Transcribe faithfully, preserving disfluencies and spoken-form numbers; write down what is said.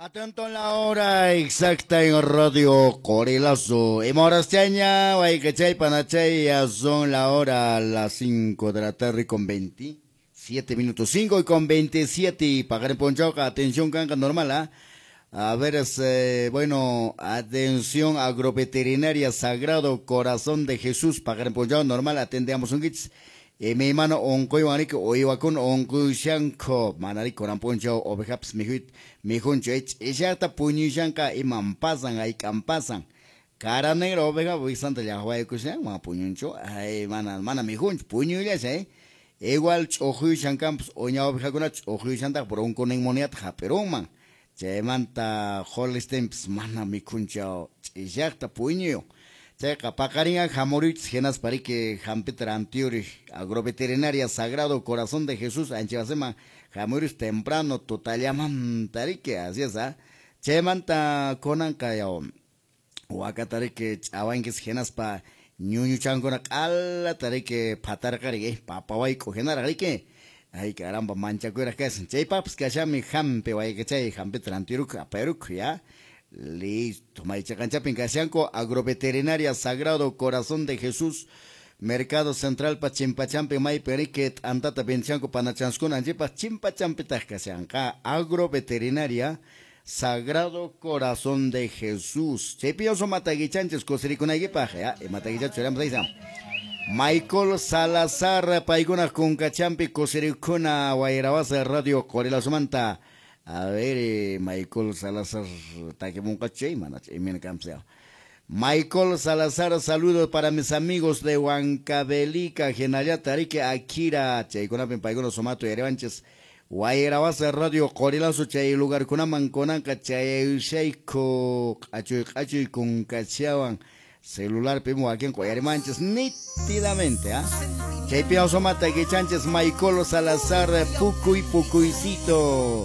Atento en la hora exacta en Radio Qorilazo. Imoraschaña, Waykachay, Panachay, ya son la hora las cinco de la tarde con veintisiete minutos. cinco y con veintisiete y pagar en Ponchauca. Atención, canca normal, ¿ah? A ver, es, eh, bueno, atención agroveterinaria Sagrado Corazón de Jesús, pagar en Ponchauca normal, atendemos un kits. E mi mano onquywan riki uywakuna unqushanku mana riki kunan p'unchaw ovejapas mikhuyta mikhunchu ch'isaqta puñushanqa iman pasan hayk'an pasan cara negra oveja wisanta llaqwaykushan mana puñunchu ay mana mana mikhunchu puñullashan eh igual ch'uquyushan kanpas uña ovejakuna ch'uquyushantaq bronconeumoniyata hap'irunman chaymanta Holsteinpas mana mikhunchu ch'isaqta puñuyun. Chayqa paqarinqa hamuruychis hinaspa riki hampita rantiyuri agroveterinaria Sagrado Corazón de Jesús anchawasiman hamuruychis temprano tutallamanta riki así es ah chaymanta kunanqa yaw wakata riki ch'awankis hinaspa ñuñuchankuna q'alata riki phatarqa riki papa wayk'u hinaraq riki ay caramba manchakuyraq kashan chaypaqpas kashanmi hampi waykachay hampita rantiyuruk apayuruk ya. Listo, Maychaqanchapin kashanku agroveterinaria Sagrado Corazón de Jesús, Mercado Central pa Chimpachampi maypi riki t'antata venchanku panachanskuna anchipaq Chimpachampitaq kashanqa agroveterinaria Sagrado Corazón de Jesús. Chaypi mataguichanchis kusirikunaykipaq ya, imataguichachu churamos aysa. Michael Salazar paykuna kunkachampi kusirikuna Wayrawasa Radio Qorilazomanta. A ver, eh, Michael Salazar, takimunqachay, manach, imina kamsea. Michael Salazar, saludos para mis amigos de Huancavelica, Genayata, Rique, Akira, chaykunapin paykuna sumato yariwanchis, Wayrawasa Radio Qorilazo, chay lugarkunaman kunanqa, chayushayku, q'achuy q'achuy kunkachawan, celular pimo wakin quyarimanchis nítidamente, ¿ah? Chaypi awsumata kichanchis Michael Salazar, pukuy pukuycito.